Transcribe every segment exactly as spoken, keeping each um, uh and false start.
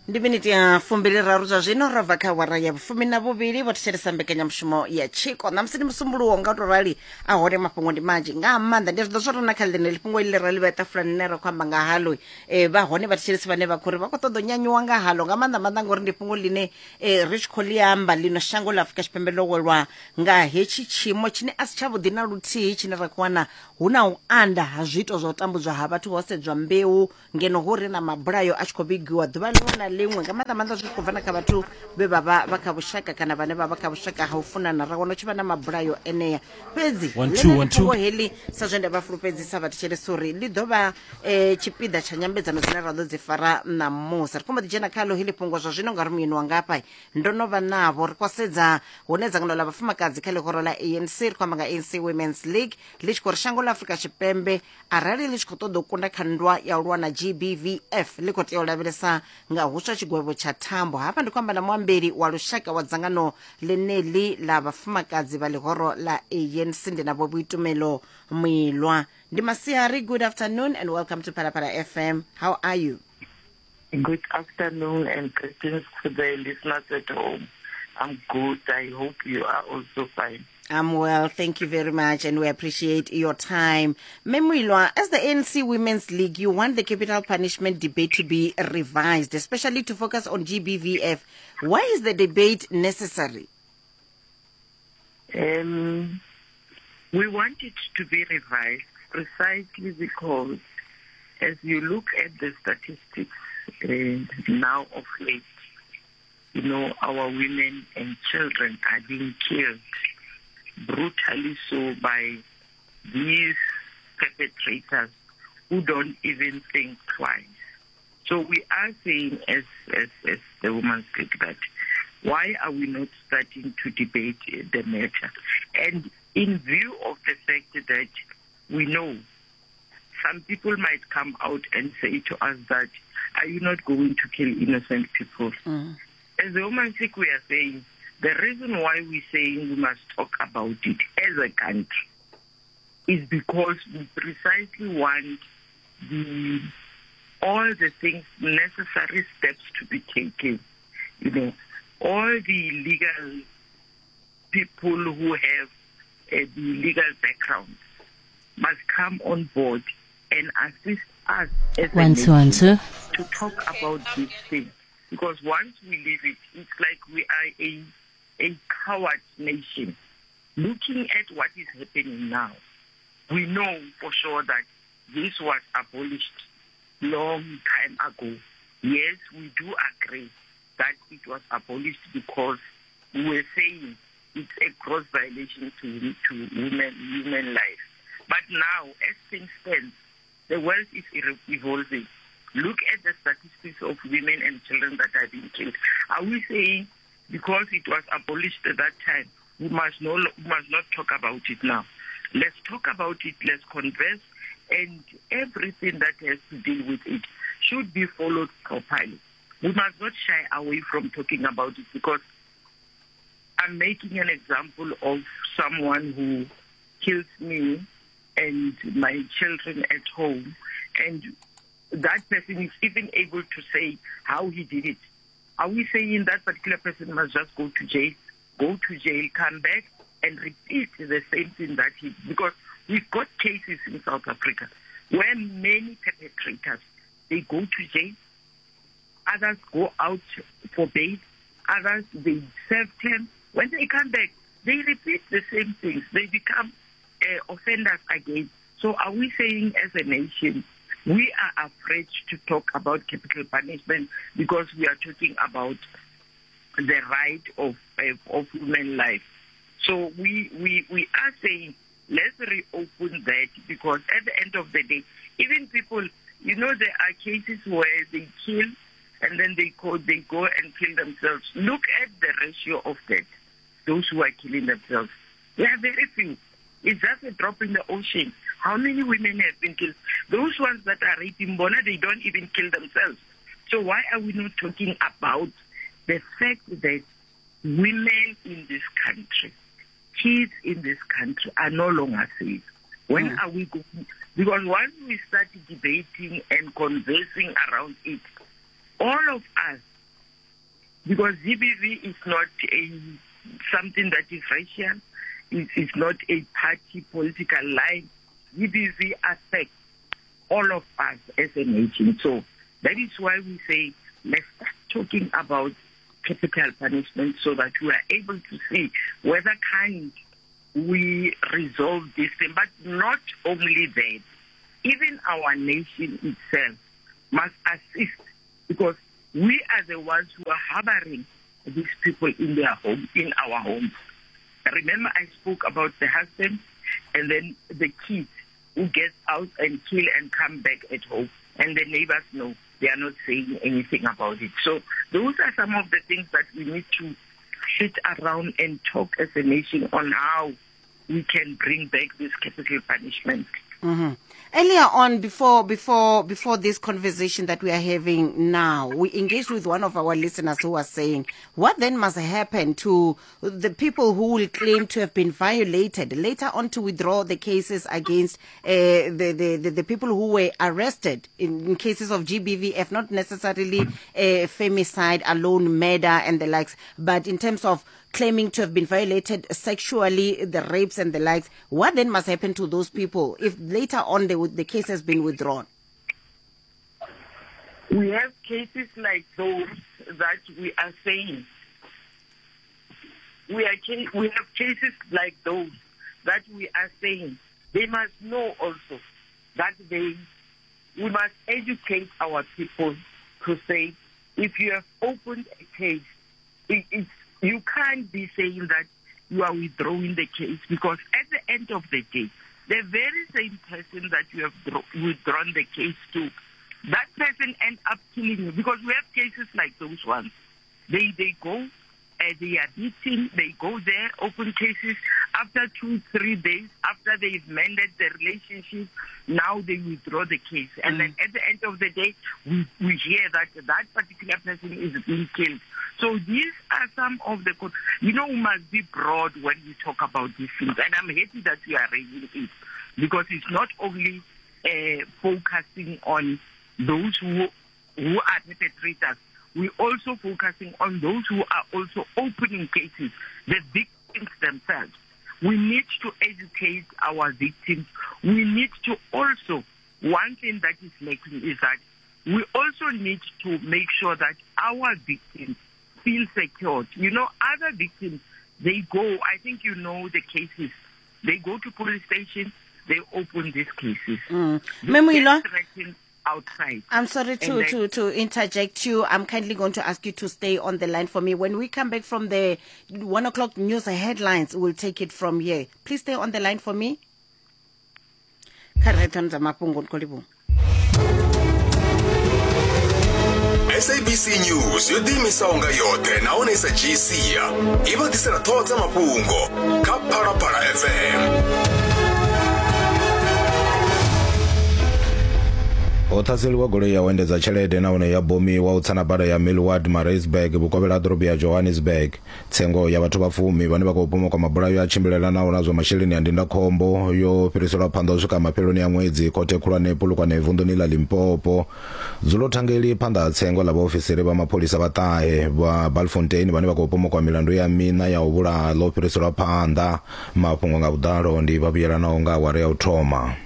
Ndi miniti ya fumbili raru zwa zwino ro bva kha awara ya vhufumi na vhuvhili vho thetshelesa mbekanyamushumo ya tshiko. Ṋamusi ndi musumbuluwo, nga u to rali a hone mafhungo ndi manzhi nga maanḓa. Ndi zwi ḓo zwo rona kha ḽeneḽi fhungo iḽi ra ḽi vhea ṱafulani ḽine ra khou amba nga halo. eh, vha hone vhathetshelesi vhane vha khou ri vha khou ṱoḓa u nyanyuwa nga halo nga maanḓa maanḓa ngori ndi fhungo ḽine eh, ri tshi khou ḽi amba ḽino shango ḽa Afrika Tshipembe ḽo welwa nga hetshi tshiimo tshine a si tshavhuḓi na luthihi, tshine ra khou wana hu na u anda ha zwiito zwa u tambudzwa ha vhathu ho sedzwa mbeu, ngeno hu ri na mabulayo a tshi khou vhigiwa ḓuvha ḽiṅwe na ḽiṅwe, nga maanḓa maanḓa zwi tshi khou bva na kha vhathu vhe vha vha vha kha vhushaka kana vhane vha vha kha vhushaka ha u funana, ra wana hu tshi vha na mabulayo enea. Fhedzi One, two, ḽeneḽi one, two. fhungo heḽi, sa zwe nda vha fulufhedzisa vhathetshelesi uri ḽi ḓo vha eh, tshipiḓa tsha nyambedzano dzine ra ḓo dzi fara ṋamusi, ri khou mbo ḓi dzhena khaḽo heḽi fhungo zwa zwino ngauri muyeni wanga hafha ndo no vha navho. Ri khou sedza hune dzangano ḽa vhafumakadzi kha ḽihoro ḽa A N C, ri khou amba nga A N C Women's League, ḽi tshi khou ri shango ḽa Afrika Tshipembe arali ḽi tshi khou ṱoḓa u kunda kha nndwa ya u lwa na G B V F ḽi khou tea u lavhelesa nga huswa tshigwevho tsha thambo. Hafha ndi khou amba na muambeli wa lushaka wa dzangano ḽeneḽi ḽa vhafumakadzi vha ḽihoro ḽa A N C, ndi na Vho Boitumelo Moilwa. Ndi masiari, good afternoon and welcome to Phalaphala F M. How are you? Good afternoon and greetings to the listeners at home. I'm good. I hope you are also fine. I'm well, thank you very much, and we appreciate your time. Moilwa, as the A N C Women's League, you want the capital punishment debate to be revised, especially to focus on G B V F. Why is the debate necessary? Um, we want it to be revised precisely because as you look at the statistics uh, now of late, you know, our women and children are being killed, brutally so, by these perpetrators who don't even think twice. So we are saying as, as, as the Women's League that why are we not starting to debate the matter? And in view of the fact that we know some people might come out and say to us that, are you not going to kill innocent people? Mm. As the Women's League, we are saying, the reason why we're saying we must talk about it as a country is because we precisely want the, all the things, necessary steps to be taken. You know, all the legal people who have uh, the legal background must come on board and assist us as a One, two, one, nation two. to talk about this thing. Because once we leave it, it's like we are a, a coward nation. Looking at what is happening now, we know for sure that this was abolished long time ago. Yes, we do agree that it was abolished because we were saying it's a gross violation to, to women, human life. But now, as things stand, the world is evolving. Look at the statistics of women and children that are being killed. Are we saying because it was abolished at that time, we must, no, we must not talk about it now? Let's talk about it, let's converse, and everything that has to deal with it should be followed properly. We must not shy away from talking about it, because I'm making an example of someone who kills me and my children at home, and that person is even able to say how he did it. Are we saying that particular person must just go to jail, go to jail, come back and repeat the same thing that he... Because we've got cases in South Africa where many perpetrators, they go to jail, others go out for bail, others, they serve term. When they come back, they repeat the same things. They become uh, offenders again. So are we saying as a nation, we are afraid to talk about capital punishment because we are talking about the right of, of human life? So we, we, we are saying let's reopen that, because at the end of the day, even people, you know, there are cases where they kill and then they go, they go and kill themselves. Look at the ratio of that, those who are killing themselves. They are very few. It's just a drop in the ocean. How many women have been killed? Those ones that are raping Bona, they don't even kill themselves. So why are we not talking about the fact that women in this country, kids in this country are no longer safe? When mm. are we going? Because once we start debating and conversing around it, all of us Because G B V is not a something that is racial. It is not a party political line. G B V affects all of us as a nation. So that is why we say let's start talking about capital punishment so that we are able to see whether can we resolve this thing. But not only that, even our nation itself must assist, because we are the ones who are harboring these people in their home, in our homes. Remember, I spoke about the husband and then the kids who get out and kill and come back at home, and the neighbors know. They are not saying anything about it. So those are some of the things that we need to sit around and talk as a nation on how we can bring back this capital punishment. Mm-hmm. Earlier on, before before before this conversation that we are having now, we engaged with one of our listeners who was saying, what then must happen to the people who will claim to have been violated later on to withdraw the cases against uh, the, the, the, the people who were arrested in, in cases of G B V F, not necessarily uh, femicide alone, murder and the likes, but in terms of claiming to have been violated sexually, the rapes and the likes. What then must happen to those people if later on the, the case has been withdrawn? We have cases like those that we are saying. We are we have cases like those that we are saying. They must know also that they, we must educate our people to say, if you have opened a case, it, it's, you can't be saying that you are withdrawing the case, because at the end of the day, the very same person that you have withdrawn the case to, that person ends up killing you. Because we have cases like those ones. They they go, uh, they are beaten, they go there, open cases. After two, three days, after they've mended the relationship, now they withdraw the case. And mm. then at the end of the day, we, we hear that that particular person is being killed. So these are some of the, you know, we must be broad when we talk about these things. And I'm happy that we are raising it, because it's not only uh, focusing on those who, who are perpetrators. We're also focusing on those who are also opening cases, the victims themselves. We need to educate our victims. We need to also, one thing that is lacking is that we also need to make sure that our victims feel secured. You know, other victims, they go, I think you know the cases, they go to police station, they open these cases. Mm. Moilwa, outside. I'm sorry to, then, to, to interject you. I'm kindly going to ask you to stay on the line for me. When we come back from the one o'clock news headlines, we'll take it from here. Please stay on the line for me. S A B C News yo ḓiimisaho nga yoṱhe nahone i sa dzhii sia i vha ḓisela ṱhoho dza mafhungo kha Phalaphala F M. Ho ṱhaseliwa goloi ya u endedza tshelede nahone ya bomiwa u tsa na bada ya Millward Maritzburg vhukovhela ha ḓorobo ya Johannesburg. Tsengo ya vhathu vha fumi vhane vha khou pomokwa mabulayo a tshimbilelanaho na zwa masheleni a ndindakhombo yo fhiriselwa phanḓa u swika mafheloni a ṅwedzi khothe khulwane Polokwane vunḓuni ḽa Limpopo. Dzulo thangeli phanḓa ha tsengo ḽa vhaofisiri vha mapholisa vha ṱahe vha Balfontein vhane vha khou pomokwa milandu ya miṋa ya u vhulaha ḽo fhiriselwa phanḓa. Mafhungo nga vhuḓalo ndi vha vhuyelanaho nga awara ya u thoma.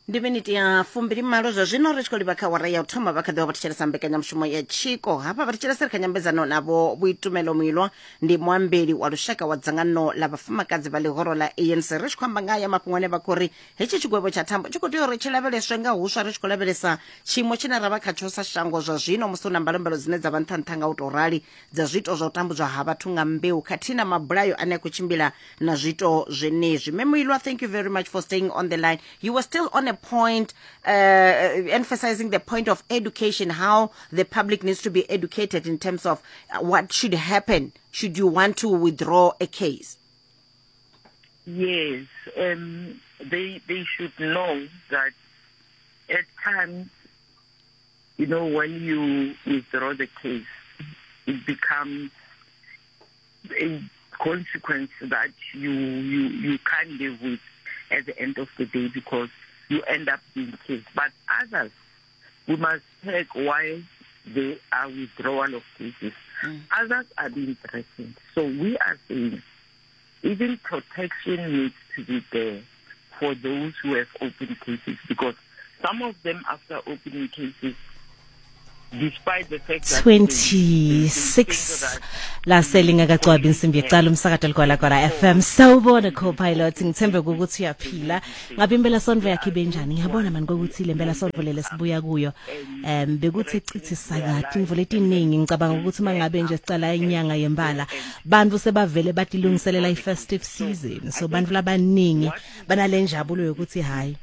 Ndi miniti ya fumbili malo zwa zwino ri tshi khou livha kha awara ya u thoma vha kha ḓi vha vha thetshelesa mbekanyamushumo ya Tshiko. Hafha vha thetshelesa ri kha nyambedzano navho Vhuitumelo Moilwa, ndi muambeli wa lushaka wa dzangano ḽa vhafumakadzi vha ḽihoro ḽa A N C. Ri tshi khou amba nga haya mafhungo ane vha khou ri hetshi tshigwevho tsha thambo tshi khou tea uri tshi lavheleswe nga huswa, ri tshi khou lavhelesa tshiimo tshine ra vha khatsho sa shango zwa zwino musi hu na mbalombalo dzine dza vha nṱha nṱha nga u tou rali dza zwiito zwa u tambudzwa ha vhathu nga mbeu khathihi na mabulayo ane a khou tshimbila na zwiito zwenezwi. Mme Moilwa, thank you very much for staying on the line. You were still on a point, uh, emphasizing the point of education, how the public needs to be educated in terms of what should happen should you want to withdraw a case. Yes, um, they they should know that at times, you know, when you withdraw the case, it becomes a consequence that you, you, you can't live with at the end of the day, because you end up being killed. But others, We must check why there are withdrawal of cases. Mm. Others are being threatened. So we are saying even protection needs to be there for those who have opened cases, because some of them after opening cases, despite the fact that twenty-six laselingakacwabi insimbi yekucala umsakato Ligwalagwala F M. Sawubona co-pilot, ngithembe ukuthi uyaphila. Ngabe impela sonto yakhe ibenjani? Ngiyabona manje ukuthi le mpela sonto lele sibuya kuyo em bekuthi cithi sakati imvula etiningi. Ngicabanga ukuthi mangabe nje sicala inyanga yembala bantu sebavele batilungiselela i-festive season, so bantu labaningi banalenjabulo yokuthi hayi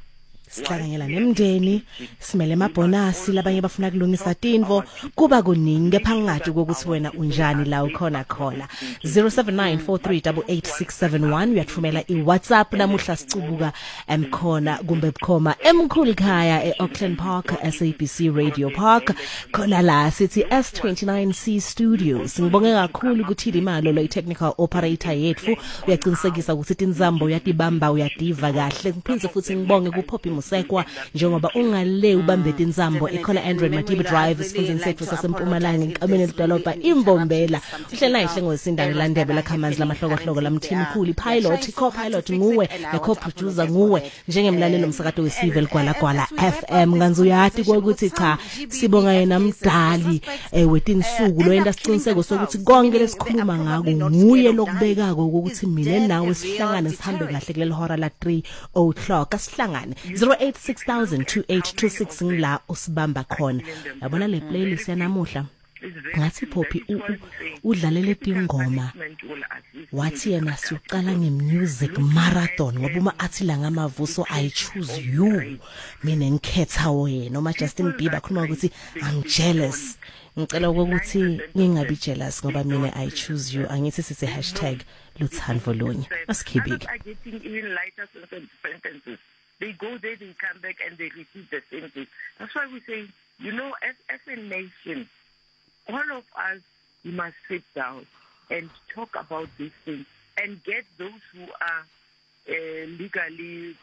sihlanganyela nemndeni, simele emabhonasi, labanye bafuna kulungisa tintfo, kuba kuningi kepha ngingati ukuthi wena unjani la ukhona khona. zero seven nine four three eight eight six seven one uyathumela iWhatsApp namuhla sicubuka emkhona kumbe bukhoma emkhulu khaya eAuckland Park S A B C Radio Park khona la sithi S twenty-nine C Studios. Ngibonge kakhulu ukuthi imalo lo technical operator yethu uyaqinisekisa ukuthi tinzambo uyatibamba uyadiva kahle. Ngiphindze futhi ngibonge kuPoppy Musekwa njengoba ungale ubambe tinzambo ikhona Android Madiba Drive esifundeni sethu saseMpumalanga enkameni ledolobha iMbombela. Uhlela ihle ngosindane landebe lakhamanzi lamahlokohloko lamthimkhulu pilot co-pilot nguwe ne co-producer nguwe njengemlalelo umsakato wesive Ligwalagwala F M. Nganzi uyati ukuthi cha sibonga yena mdali wetinsuku lo yenta siciniseko sokuthi konke lesikhuluma ngako nguye lokubekako ukuthi mina nawe sihlangane sihambe kahle kuleli hora la three o'clock. Asihlangane zero eight six thousand two eight two six ngila usibamba khona. Yabona le playlist yanamuhla ngathi Poppy udlalele tingoma wathi yena siqala ngemusic marathon ngoba uma athi la ngamavuso I choose you, mina ngikhetha wena. Noma Justin Bieber khuluma ukuthi I'm jealous, ngicela ukuthi ngingabi jealous ngoba mina I choose you. Angithi sithi hashtag luthando lunye asikhibike. They go there, they come back, and they repeat the same thing. That's why we say, you know, as, as a nation, all of us, we must sit down and talk about these things and get those who are uh, legally,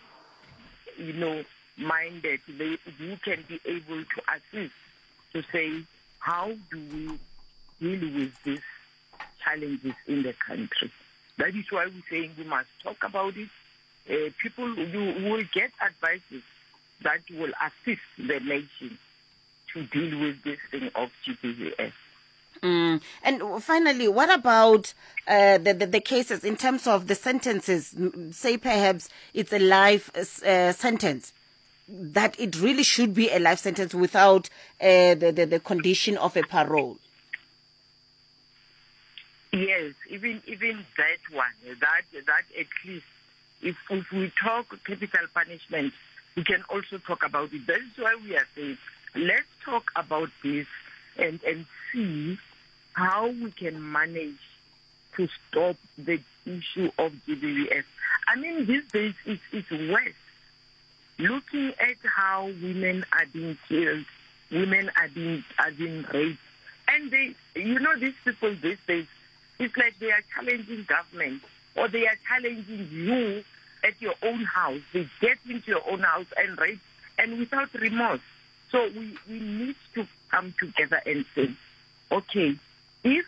you know, minded, they, who can be able to assist to say, how do we deal with these challenges in the country? That is why we're saying we must talk about it. Uh, people, you will get advices that will assist the nation to deal with this thing of G B V S. Mm. And finally, what about uh, the, the, the cases in terms of the sentences? Say perhaps it's a life uh, sentence, that it really should be a life sentence without uh, the, the, the condition of a parole. Yes, even even that one, that, that at least, If, if we talk capital punishment, we can also talk about it. That is why we are saying, let's talk about this and, and see how we can manage to stop the issue of G B V S. I mean, these days it's, it's worse. Looking at how women are being killed, women are being, are being raped. And they, you know, these people these days, it's like they are challenging government, or they are challenging you at your own house. They get into your own house and rape, and without remorse. So we, we need to come together and say, okay, if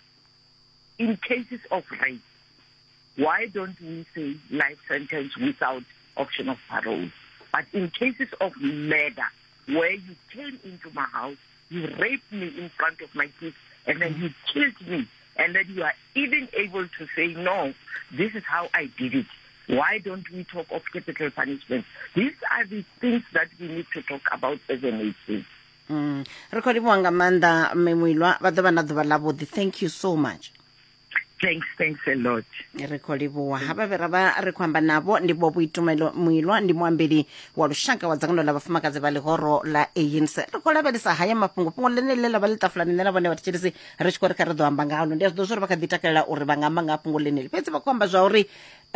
in cases of rape, why don't we say life sentence without option of parole? But in cases of murder, where you came into my house, you raped me in front of my kids, and then you killed me, and then you are even able to say, no, this is how I did it. Why don't we talk of capital punishment? These are the things that we need to talk about as a nation. Mm. Thank you so much. Thanks, thanks a lot. Re khou livhuwa havha vhe ra vha ri khou amba navho ndi Vho Boitumelo Moilwa, ndi muambeli wa lushaka wa dzangano ḽa vhafumakadzi vha ḽihoro ḽa A N C. Ri khou lavhelesa haya mafhungo, fhungo ḽeneḽi ḽa vha ḽi ṱafulani nṋe na vhone vhathetshelesi ri tshi khou ri kha ri ḓo amba ngalo. Ndi a zwi ḓo zwa uri vha kha ḓi takalela uri vha nga amba nga fhungo ḽeneḽi, fhedzi vha khou amba zwa uri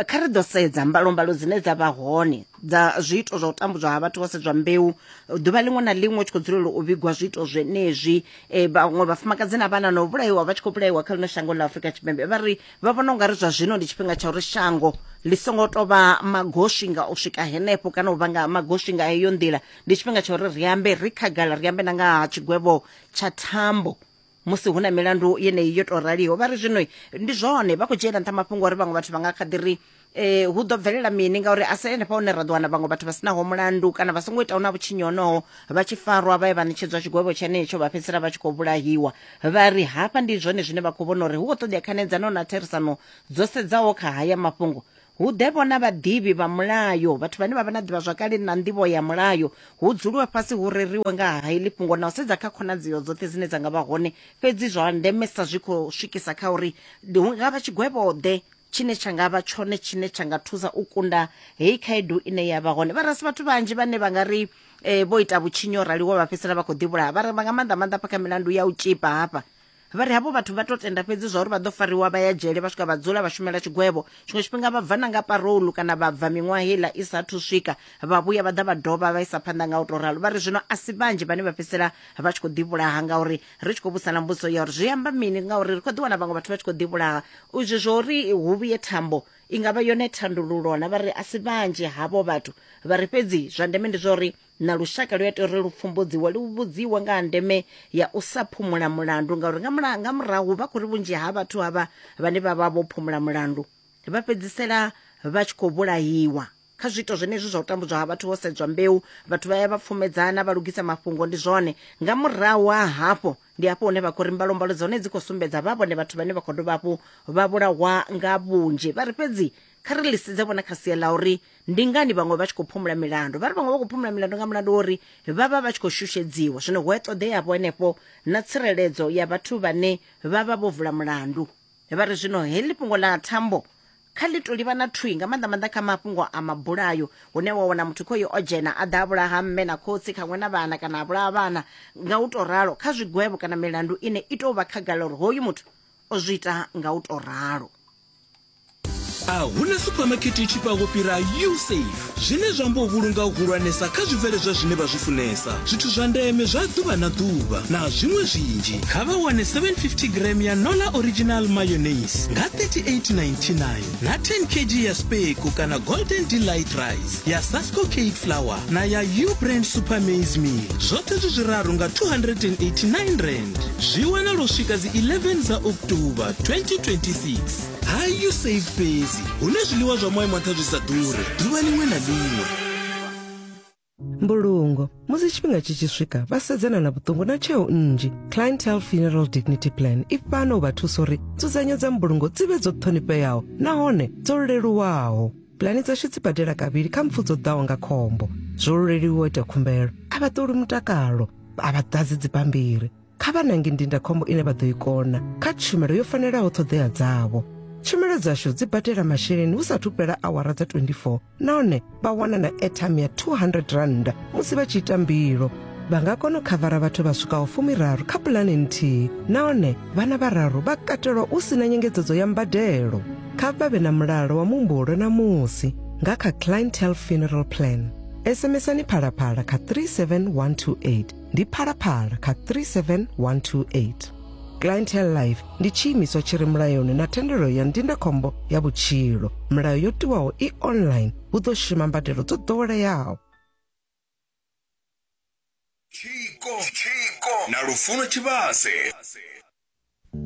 kha ri ḓo sedza mbalombalo dzine dza vha hone dza zwiito zwa u tambudzwa ha vhathu ho sedzwa mbeu ḓuvha ḽiṅwe na ḽiṅwe tshi khou dzulela u vhigwa zwiito zwenezwi. Vhaṅwe vhafumakadzi na vhana no vhulaiwa vha tshi khou vhulaiwa kha ḽino shango ḽa Afrika Tshipembe, vha ri vha vhona ungari zwa zwino ndi tshifhinga tsha uri shango ḽi songo tou vha magoswi nga u swika henefho kana u vhanga magoswi nga heyo nḓila. Ndi tshifhinga tsha uri ri ambe ri khagala, ri ambe na nga ha tshigwevho tsha thambo musi hu na milandu yeneyi yo tou raliho. Vha ri zwino ndi zwone vha khou dzhiela nṱha mafhungo uri vhaṅwe vhathu vha nga kha ḓi ri eh hu ḓo bvelela mini, ngauri a si henefha hune ra ḓo wana vhaṅwe vhathu vha sinaho mulandu kana vha songo itaho na vhutshinyi honoho vha tshi farwa vha ye vha ṋetshedzwa tshigwevho tshenetsho vha fhedzisela vha tshi khou vhulahiwa. Vha ri hafha ndi zwone zwine vha khou vhona uri hu khou ṱoḓea khanedzano na therisano dzo sedzaho kha haya mafhungo. Hu ḓe vhona vhaḓivhi vha mulayo, vhathu vhane vha vha na ḓivhazwakale na nḓivho ya mulayo, hu dzuliwe fhasi hu reriwe nga ha heḽi fhungo na u sedza kha khonadzeo dzoṱhe dzine dza nga vha hone. Fhedzi zwa ndemesa zwi khou swikisa kha uri hu nga vha tshigwevho-ḓe tshine tsha nga vha tshone tshine tsha nga thusa u kunda heyi khaedu ine ya vha hone. Vha ri a si vhathu vhanzhi vhane vha nga ri eh, vho ita vhutshinyi ho raliwa vha fhedzisela vha khou ḓivhulaha. Vha ri nga maanḓa maanḓa hafha kha milandu ya u tshipa hafha, vha ri havho vhathu vha to tenda fhedzi zwa uri vha ḓo fariwa vha ya dzhele vha swika vha dzula vha shumela tshigwevho, tshiṅwe tshifhinga vha bva na nga parolu kana vha bva miṅwaha heiḽa i sathu swika, vha vhuya vha ḓa vha dovha vha isa phanḓa nga u tou ralo. Vha ri zwino a si vhanzhi vhane vha fhedzisela vha tshi khou ḓivhulaha, ngauri ri tshi khou vhudzana mbudziso ya uri zwi amba mini, ngauri ri khou ḓi wana vhaṅwe vhathu vha tshi khou ḓivhulaha. Izwi zwo uri hu vhuye thambo i nga vha yone thandululo na, vha ri a si vhanzhi havho vhathu. Vha ri fhedzi zwa ndeme ndi zwa uri na lushaka lu a tea uri lu pfumbudziwe, lu vhudziwe nga ha ndeme ya u sa phumula mulandu, ngauri nga mula nga murahu vha khou ri vhunzhi ha vhathu havha vhane vha vha vho phumula mulandu vha fhedzisela vha tshi khou vhulahiwa kha zwiito zwenezwi zwa u tambudzwa ha vhathu ho sedzwa mbeu. Vhathu vha ya vha pfumedzana vha lugisa mafhungo, ndi zwone. Nga murahu ha hafho ndi hafho hune vha khou ri mbalombalo dzone dzi khou sumbedza vha vhone vhathu vhane vha khou dovha hafhu vha vhulahwa nga vhunzhi. Vha ri fhedzi kha ri lisedze vhona kha sia ḽa uri ndi ngani vhaṅwe vha tshi khou phumula milandu. Vha ri vhaṅwe vha khou phumula milandu nga mulandu wa uri vha vha vha tshi khou shushedziwa, zwino hu a ṱoḓea vho henefho na tsireledzo ya vhathu vhane vha vha vho vula mulandu. Vha ri zwino heḽi fhungo ḽa thambo kha ḽi to livha na thwi nga maanḓa maanḓa kha mafhungo a mabulayo, hune wa wana muthu khoyo o dzhena a ḓa a vhulaha mme na khotsi khaṅwe na vhana kana a vhulaha vhana nga u tou ralo, kha zwigwevho kana milandu ine i tou vha khagala uri hoyu muthu o zwi ita nga u tou ralo. A huna supermarket i tshifhaho fhira USafe, zwine zwa amba u vhulunga u hulwanesa kha zwibveledzwa zwine vha zwi funesa, zwithu zwa ndeme zwa ḓuvha na ḓuvha na zwiṅwe zwinzhi. Kha vha wane seven fifty gram ya Nola Original Mayonnaise nga thirty-eight ninety-nine na ten kilograms ya Speku kana Golden Delight Rice ya Sasco Cake Flour na ya U-Brand Super Maize Meal, zwoṱhe zwi zwiraru nga two hundred and eighty-nine rand. Zwi wanala u swika dzi eleven dza October twenty twenty-six. Ha USafe fhedzi hune zwiḽiwa zwa maimo a nṱha zwi sa ḓure ḓuvha ḽiṅwe na ḽiṅwe. Mbulungo musi tshifhinga tshi tshi swika vha sedzana na vhuṱungu na tsheo nnzhi. Clientele Funeral Dignity Plan i fhano u vha thusa uri nzudzanyo dza mbulungo dzi vhe dzo ṱhonifheaho nahone dzo leluwaho. Pulani dzashu dzi badela kavhili kha mpfu dzo ḓaho nga khombo. Zwo leluwa u ita khumbelo, a vha ṱoli mutakalo, a vha ḓadzi dzibammbiri. Kha vha nange ndindakhombo ine vha ḓo i kona kha tshumelo yo fanelaho ṱhoḓea dzavho. Tshumelo dzashu dzi badela masheleni hu sathu fhela awara dza twenty-four nahone vha wana na airtime ya two hundred rand musi vha tshi ita mbilo. Vha nga kona u khavara vhathu vha swikaho fumiraru kha pulane nthihi nahone vhana vhararu vha katelwa u sina nyengedzedzo ya mbadelo. Kha vha vhe na mulalo wa muhumbulo na musi nga kha Clientele Funeral Plan. SMSani phalaphala kha three seven one two eight, ndi phalaphala kha three seven one two eight. Clientele Life ndi tshiimiswa tshi re mulayoni na thendelo ya ndindakhombo ya vhutshilo. Milayo yo tiwaho i online, hu ḓo shuma mbadelo dzo ḓoweleaho. Tshiko, Tshiko na Lufuno Tshivhase.